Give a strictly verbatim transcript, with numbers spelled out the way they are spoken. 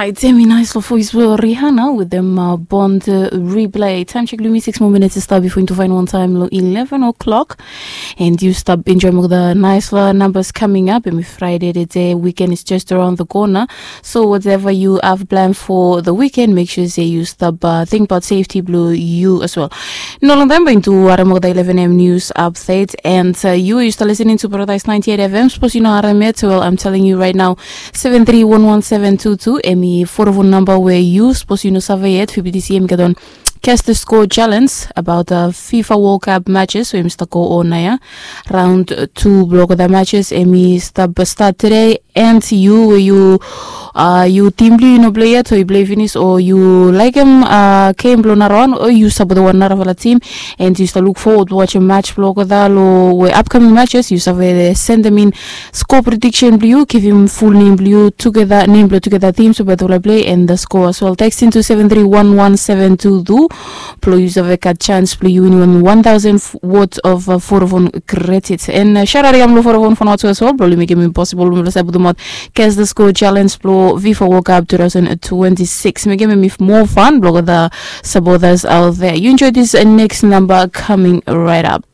Ai temi nais long voes blong Rihanna wetem Bond Replay. Taem sek long yumi six moa minits i stap bifo yumi tu faen wantaem long eleven o'clock. And yu stap enjoem olgeta naispela nambas kaming ap. Em i Friday today, weekend is just around the corner. So whatever you have planned for the weekend, make sure say you stop uh, think about safety blue you as well. No long time bai into Aramoda eleven a.m. news update and uh, you used to listening to Paradise ninety-eight F M. Suppose you know Aramet, well, I'm telling you right now, seven three one one seven two two. Emi phone number where you suppose you know survey yet. Fifty C M get on cast the score challenge about uh, FIFA World Cup matches. So you must go on ya. Round two block the matches. Emi start start today. And yu we yu uh, yu tim blong yu no plei yet o yu plei finis o yu laikim uh, game blong narawan o yu sapot wan narafala tim. And yu stap luk forward wasim match blong olgeta long we upcoming matches yu save sendem in score prediction blong yu, givim full name blong yu tugeta, name blong tugeta tim so beta blong play and the score as well. Text into seven three one one seven two two. Blong yu save gat chance blong yu winim one thousand worth of uh, Vodafone credit. And uh, shout out yam long Vodafone for not as well. Blong yu mekim impossible blong save putum out guess the score challenge blong FIFA World Cup two thousand twenty-six. Mekim mi more fun blong the supporters out there. You enjoy this uh, next number coming right up.